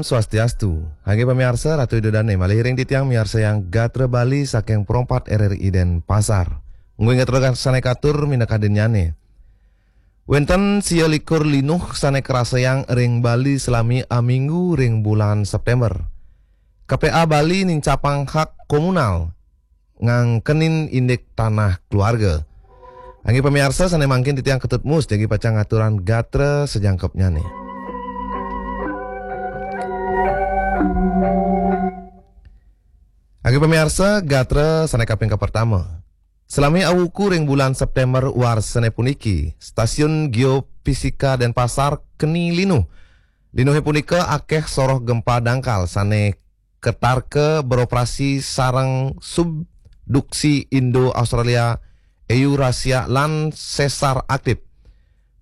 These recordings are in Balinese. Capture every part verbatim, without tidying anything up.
Swastiastu. Inggih pamiarsa, Ratu Ida Dane malih ring titiang miarsayang gatra Bali saking Pro empat R R I Denpasar. Ngui gatra sané katur minakadinnyane. Wénten sia likur linuh sané karasayang ring Bali salami aminggu ring bulan September. K P A Bali nincapang hak komunal ngangkenin indik tanah keluarga. Inggih pamiarsa, sané mangkin titiang Ketut Mus jagi pacang ngaturang gatra sajangkepnyane. Inggih pamiarsa, gatra sané kaping kapertama. Salami awuku ring bulan September warsané puniki, Stasiun Geofisika Denpasar keni linuh. Linuhé punika akéh soroh gempa dangkal sané katarka beroperasi sareng subduksi Indo-Australia, Eurasia, lan sesar aktif.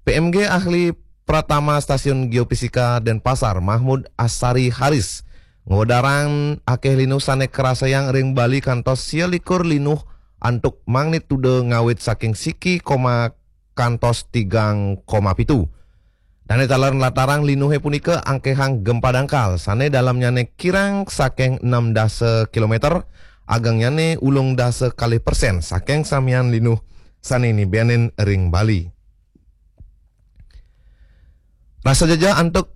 P M G ahli Pratama Stasiun Geofisika Denpasar, Mahmud Asari Haris, ngwedarang akéh linuh sané karasayang ring Bali kantos sia likur linuh antuk magnitudo ngawit saking siki koma kantos tigang koma pitu. Dané taler nlatarang linuhé punika angkéhang gempa dangkal, sané dalemnyane kirang saking enam dasa kilometer, agengnyane ulung dasa kalih persen saking samian linuh sané nibenin ring Bali. Rasa jejeh antuk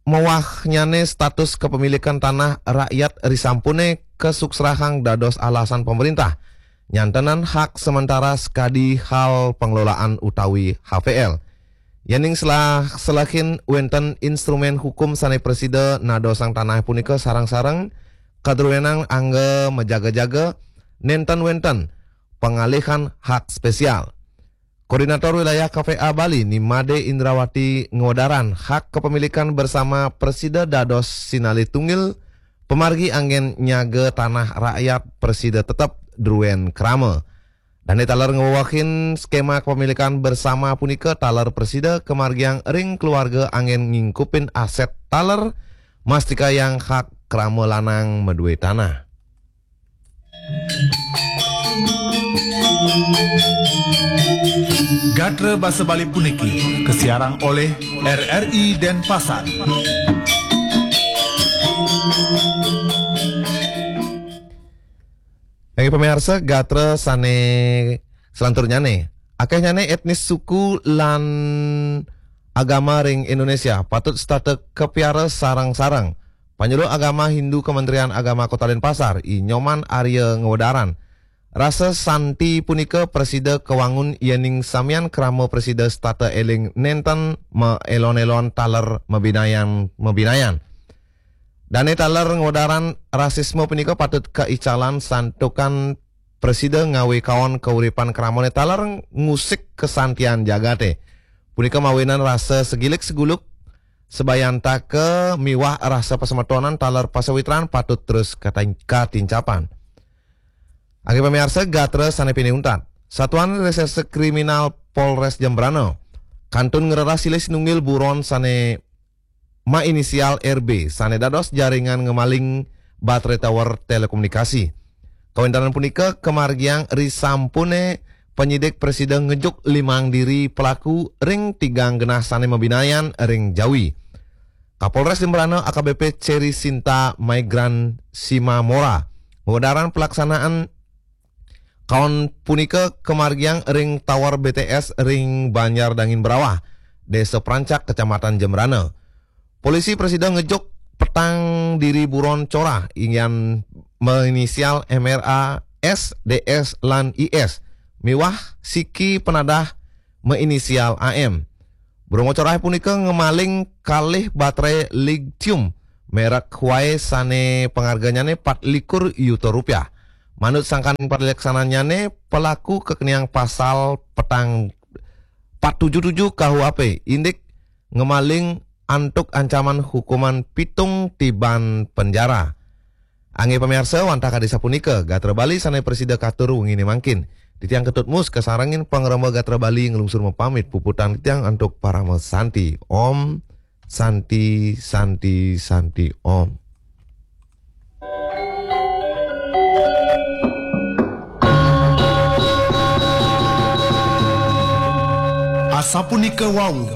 mewahnyane status kepemilikan tanah rakyat risampune kasuksrahang dados alasan pemerintah nyantenan hak sementara skadi hal pengelolaan utawi H P L. Yening selah selehin wenten instrumen hukum sane prasida nadosang tanah punika sareng-sareng kadruenang angga majaga-jaga, nenten wenten pengalihan hak spesial. Koordinator Wilayah K P A Bali Nimade Indrawati ngwedaran hak kepemilikan bersama prasida dados sinalih tunggil, pamargi anggen nyaga tanah rakyat prasida tetep druen krama. Dane taler ngwewehin skema kepemilikan bersama punika taler prasida kamargiang ring keluarga anggen ngingkupin aset taler mastikayang hak krama lanang madue tanah. Gatra basa Bali puniki kasiarang oleh R R I Denpasar. Inggih pamiarsa, gatra sane selanturnyane, akehnyane etnis, suku, lan agama ring Indonesia patut setata kapiara sareng-sareng. Panyuluh Agama Hindu Kementerian Agama Kota Denpasar, I Nyoman Arya ngwedaran, rasa santi punika prasida kawangun yening samian krama prasida setata eling nenten maelon-elon taler mabinayan-mabinayan. Dane taler ngwedaran rasisme punika patut kaicalan santukan prasida ngawe kaon kauripan kramane taler ngusik kasantian jagate. Punika mawinan rasa segilik seguluk, sabayantaka miwah rasa pasemetonan taler pasawitran patut terus katin-, katincapan. Inggih pamiarsa, gatra sane pinih untat. Satuan Reserse Kriminal Polres Jembrana kantun ngreras silih sinunggil buron sane mainisial R B sane dados jaringan ngemaling baterai tower telekomunikasi. Kawéntenan punika kamargiang risampune penyidik prasida ngejuk limang diri pelaku ring tigang genah sane mabinayan ring Jawi. Kapolres Jembrana A K B P Cherry Sinta Maigran Simamora ngwedaran pelaksanaan kaon punika kamargiang ring Tower B T S ring Banjar Dangin Berawah, Desa Prancak, Kecamatan Jembrana. Polisi prasida ngejuk petang diri buron corah inggian mainisial M R A, S, D S, lan I S, miwah siki penadah mainisial A M. Buron corah punika ngemaling kalih baterai litium merek Huawei sane pangarganyane pat likur yuta rupiah. Manut sangkan paleksananyane, pelaku kakeniang pasal petang pat tujuh tujuh K U H P, indik ngemaling antuk ancaman hukuman pitung tiban penjara. Inggih pamiarsa, wantah kadi sapunika gatra Bali sane prasida katur wengine mangkin. Titiang Ketut Mus kasarengin pangremba gatra Bali nglungsur mapamit, puputang titiang antuk parama santi. Om Santi, Santi, Santi, Om. Asapunika wau